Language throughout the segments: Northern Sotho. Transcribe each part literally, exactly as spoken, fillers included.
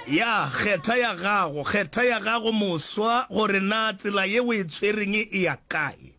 Ya, kgetha ya gago, kgetha ya gago moswa, gore na tsela ye o e tshwereng e ya kae.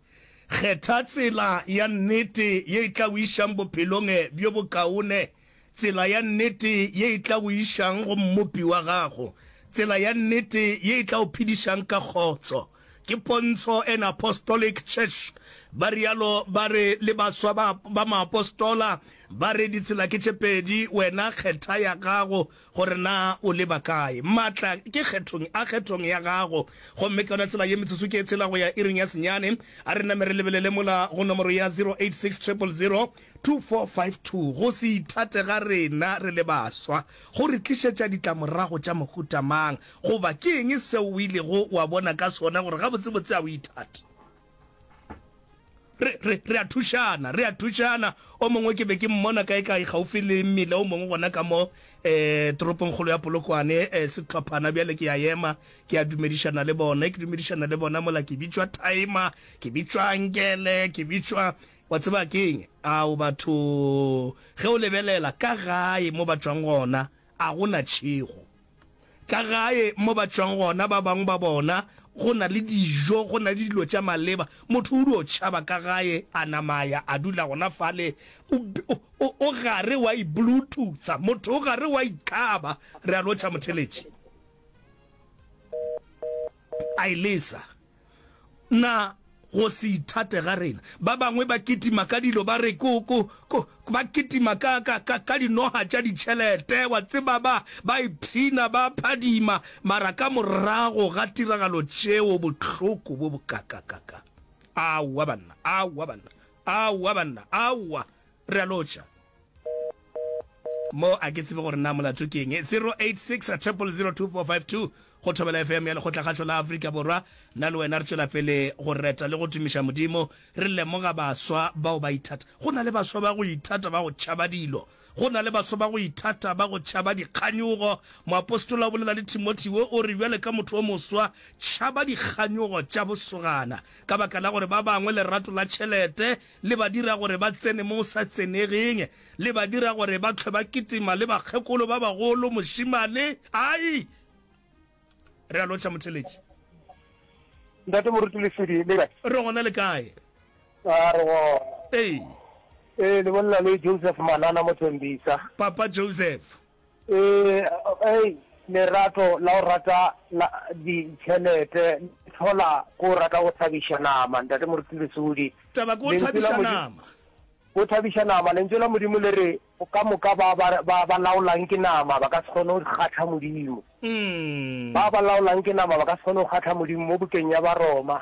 Kgetha tsela ya nnete ye e tla o išang bophelong bjo bokaone, tsela ya nnete ye e tla o išang go Mmopi wa gago, tsela ya nnete ye e tla o phedišang ka kgotso. Ke Pontsho and Apostolic Church, ba rialo ba re le baswa ba, ba maapostola, ba re ditsela ke tše pedi, wena kgetha ya gago gore na o leba kae. Maatla ke kgethong, a kgethong ya gago. Gomme ka yona tsela ye metsotso ke e tshela go ya iring ya senyane, a re name re lebelele mola go nomoro ya zero eight six triple zero two four five two. Go se ithate ga rena re le baswa go re tlišetša ditlamorago tša mohuta mang? Goba ke eng seo o ilego wa bona ka sona gore gabotsebotse a o ithate? Re, re, re a thušana, re a thušana. O mongwe ke be ke mmona kaekae gaufi le mmila o mongwe gona ka mo eh, toropongkgolo ya Polokwane, eh, sehlophana. Bjale ke a ema, ke a dumedišana le bona, ke dumedišana le bona mola ke bitšwa Timer, ke bitšwa Ankele, ke bitšwa, wa tseba ke eng? Ao batho, ge o lebelela ka gae mo ba tšwang gona, a go na tšhego. Ka gae mo ba tšwang gona, ba bangwe ba bona go na le dijo, go na le dilo tša maleba. Motho o dio tšhaba ka gae, a nama a ya a dula gona fale, o, o, o, o gare wa i-bluetootha, motho o gare wa ikaba. Re a lotšha motheletši. A e lesa. Na go se ithate ga rena? Ba bangwe ba kitima ka dilo, ba re ko, ko, ko, ba kitima ka, ka, ka, ka dinoga tša ditšhelete, wa tseba, ba, ba ipshina, ba phadima, mara ka morago ga tiragalo tšeo, bohloko bo bokakakaka. Aowa, banna, aowa, banna, aowa, banna, aowa. Re a lotšha. Mo a ke tsebe gore na molato ke eng. Zero eight six triple zero two four five two go Thobela F M ya Lekgotlakgašo la Afrika Borwa. Nna le wena re tšwela pele go reta le go tumiša Modimo, re lemoga baswa bao ba ithata. Go na le baswa ba go ithata ba go tšhaba dilo. Go na le baswa ba go ithata ba go tšhaba dikganyogo. Moapostola o bolela le Timotheo o re, Bjale ka motho o moswa, tšhaba dikganyogo tša bosogana. Ka baka la gore ba bangwe lerato la tšhelete le ba dira gore ba tsene mo go sa tsenegeng, le ba dira gore ba hlwe ba kitima le bakgekolo ba bagolo, mošemane, ai! Re a lotšha motheletši. Ntate Moruti Lesedi, le kae? Re gona, le kae? A re gona. Ee. Ee, le bolela le Joseph Manana mo Thembisa. Papa Joseph. Ee, ei, lerato la go rata la ditšhelete le hlola ke go rata go thabiša nama, Ntate Moruti Lesodi. Taba ke go thabiša nama. Go thabiša nama. Lentšu la Modimo le re, Ka moka ba ba ba ba laolang ke nama ba ka se kgone go kgahla Modimo. Ba ba laolang ke nama ba ka se kgone go kgahla Modimo mo bukeng ya Baroma.